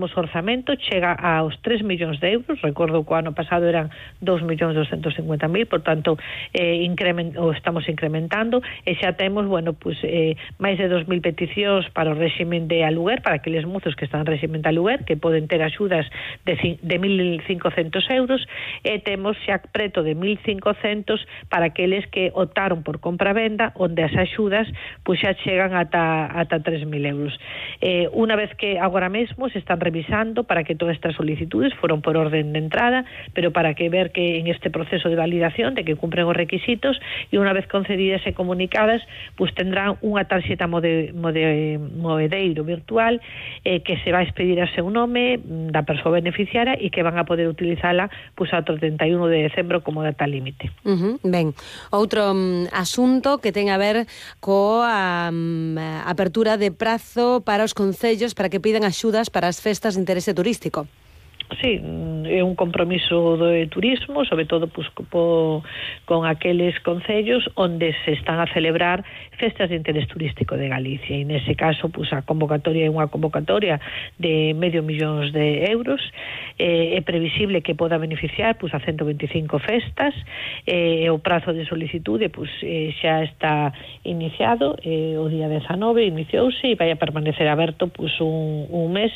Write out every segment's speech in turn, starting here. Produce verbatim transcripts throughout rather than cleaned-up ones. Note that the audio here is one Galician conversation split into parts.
O orzamento chega aos tres millóns de euros, recordo que o ano pasado eran dous millóns doscentos e cincuenta mil, por tanto, eh, increment, o estamos incrementando, e xa temos, bueno, pues, eh, máis de dos mil peticións para o réximen de aluguer, para aqueles mozos que están en réximen de aluguer, que poden ter axudas de, de mil cincocentos euros, e temos xa preto de mil cincocentos para aqueles que optaron por compra-venda, onde as axudas pues, xa chegan ata, ata tres mil euros. Eh, unha vez que agora mesmo se están revisando para que todas estas solicitudes foron por orden de entrada, pero para que ver que en este proceso de validación de que cumpren os requisitos, e unha vez concedidas e comunicadas, pues tendrán unha tarxeta mode, mode, moedeiro virtual eh, que se va a expedir a seu nome da persoa beneficiaria e que van a poder utilizala pues, ao trinta e un de decembro como data límite. Uh-huh. Ben, outro um, asunto que ten a ver coa um, apertura de prazo para os concellos para que pidan axudas para as festas de interese turístico. Sí, é un compromiso do turismo, sobre todo pues, po, con aqueles concellos onde se están a celebrar festas de interés turístico de Galicia, e nese caso pues, a convocatoria é unha convocatoria de medio millóns de euros, eh, é previsible que poda beneficiar pues, a ciento veinticinco festas, e eh, o prazo de solicitude pues, eh, xa está iniciado, eh, o día dezanove iniciouse e vai a permanecer aberto pues, un, un mes,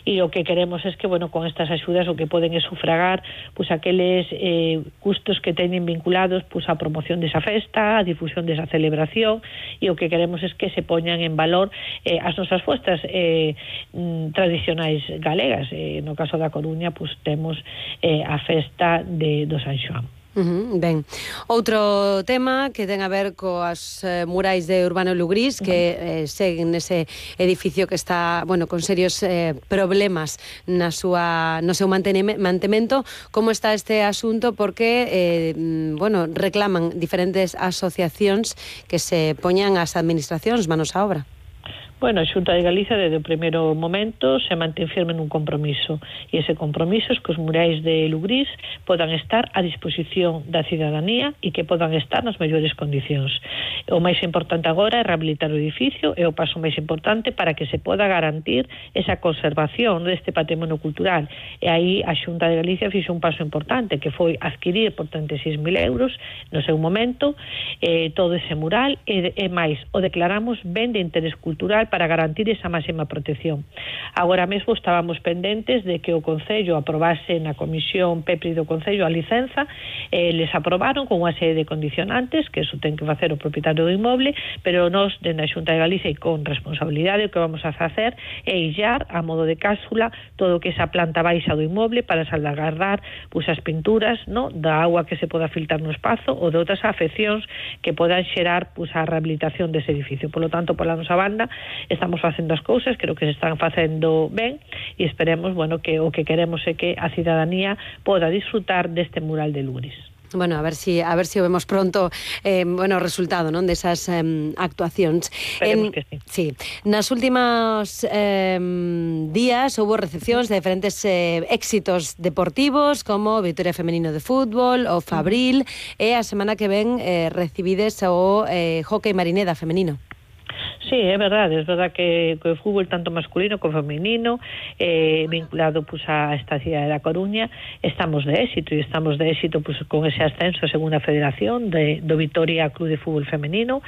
e o que queremos é que, bueno, con estas axudas o que poden é sufragar pues, aqueles eh, custos que teñen vinculados pues, á promoción desa festa, á difusión desa celebración, e o que queremos é que se poñan en valor eh, as nosas festas eh, tradicionais galegas. Eh, no caso da Coruña pues, temos eh, a festa de, do San Xoán. Uh-huh, ben, outro tema que ten a ver coas eh, murais de Urbano Lugrís que eh, seguen nese edificio que está, bueno, con serios eh, problemas na súa, no seu mantemento. Como está este asunto? Porque, eh, bueno, reclaman diferentes asociacións que se poñan as administracións manos á obra. Bueno, a Xunta de Galicia desde o primeiro momento se mantén firme nun compromiso, e ese compromiso é que os murais de Lugrís podan estar a disposición da cidadanía e que podan estar nas mellores condicións. O máis importante agora é rehabilitar o edificio, é o paso máis importante para que se poda garantir esa conservación deste patrimonio cultural, e aí a Xunta de Galicia fixo un paso importante, que foi adquirir por trinta e seis mil euros no seu momento eh, todo ese mural, e, e máis, o declaramos ben de interés cultural para garantir esa máxima protección. Agora mesmo estábamos pendentes de que o Concello aprobase na Comisión P E P R I do Concello a licenza, eh, les aprobaron con unha serie de condicionantes, que eso ten que facer o propietario do inmoble, pero nós, dende a Xunta de Galicia e con responsabilidade, o que vamos a facer é illar a modo de cápsula todo o que esa planta baixa do inmoble para salvaguardar pues, as pinturas, no, da agua que se poda filtrar no espazo ou de outras afeccións que podan xerar pues, a rehabilitación dese edificio. Por lo tanto, pola nosa banda, estamos facendo as cousas, creo que se están facendo ben, e esperemos, bueno, que o que queremos é que a cidadanía poda disfrutar deste mural de Lugrís. Bueno, a ver si a ver si o vemos pronto eh, bueno, o resultado, non, desas eh, actuacións. Esperemos en, que sí. Sí. Nas últimas eh, días houve recepcións de diferentes eh, éxitos deportivos como o Vitoria Femenino de Fútbol, o Fabril, uh-huh. e a semana que ven eh, recibides o eh, Hockey Marineda femenino. Sí, é verdade, é verdade que, que o fútbol tanto masculino como femenino eh, vinculado pues, a esta cidade da Coruña estamos de éxito, e estamos de éxito pues, con ese ascenso a segunda federación de, do Vitoria Club de Fútbol Femenino,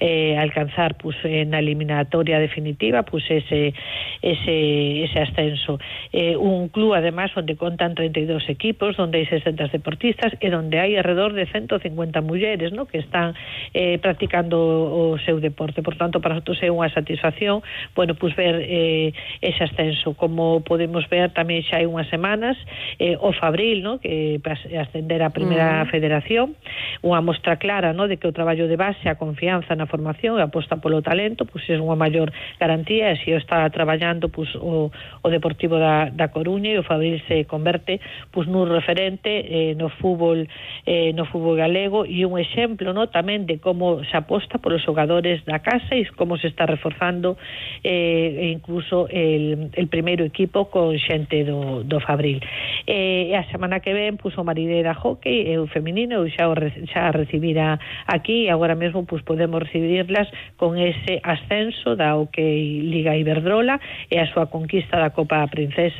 eh, alcanzar pues, na eliminatoria definitiva pues, ese, ese, ese ascenso. Eh, un club además onde contan treinta e dous equipos, onde hai sesenta deportistas e onde hai alrededor de ciento cincuenta mulleres, ¿no? que están eh, practicando o seu deporte. Por tanto, para nosotros é unha satisfacción, bueno, pues ver eh, ese ascenso. Como podemos ver tamén xa hai unhas semanas eh, o Fabril, ¿no? que ascender a primeira mm. federación, unha mostra clara, ¿no? de que o traballo de base, a confianza na formación e a aposta polo talento, pues é unha maior garantía, e se o está traballando pues, o, o Deportivo da, da Coruña, e o Fabril se converte pues, nun referente eh, no fútbol eh, no fútbol galego, e un exemplo, ¿no? tamén de como se aposta polos xogadores da casa e como se está reforzando eh, incluso el, el primeiro equipo con xente do, do Fabril. E a semana que ven, pois, o Maridera Hockey e o feminino, eu xa, o, xa recibira aquí, e agora mesmo pois, podemos recibirlas con ese ascenso da Hockey Liga Iberdrola e a súa conquista da Copa Princesa